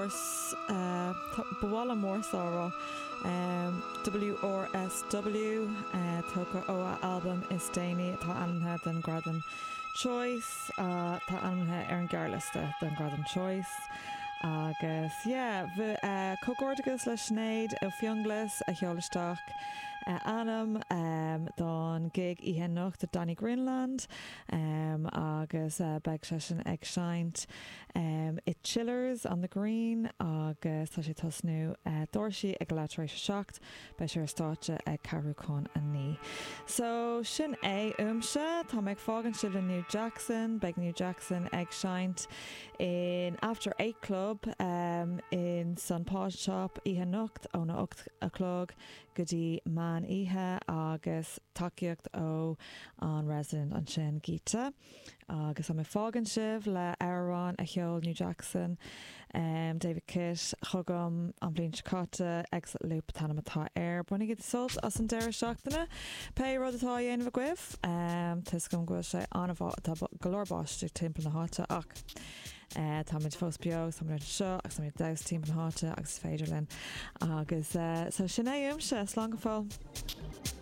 Wars, ba mhaith liom Warsaw a rá, WRSW, tógtha ó a albam is déanaí atá ainmnithe don Ghradam Choice, atá ainmnithe ar an ghearrliosta don Ghradam Choice. Agus yeah, comhghairdeachas le Sinéad Ó Fionnghlas a sheol isteach a ainm don gig oíche anocht do Danny Greenland agus beidh seisean ag seinnt i Chillers on the Green agus tá sé ag tosnú doirse ag leath tar éis a 7. Beidh sé ar stáitse ag ceathrú chun 9. So, sin é uaimse. Tá mé ag fágaint sibh le New Jackson. Beidh New Jackson ag seinnt in After 8 Club in san Pawn Shop oíche anocht óna 8 a chlog go dtí meán oíche agus tacaíocht ó an resident ansin, Gita. Agus tá mé ag fágaint sibh le amhrán a sheol New Jackson, David Kitt, chugam an bhliain seo caite, Exit Loop an t-ainm atá air. Bainigí sult as an deireadh seachtaine, pé rud atá á dhéanamh agaibh. Tá 'fhios agam go bhfuil sé an-mhaith, tá go leor báistí timpeall na háite ach táimid fós beo agus táimid anseo agus táimid ag damhsa timpeall na háite agus is féidir linn. Agus so sin é uaimse, slán go fóill.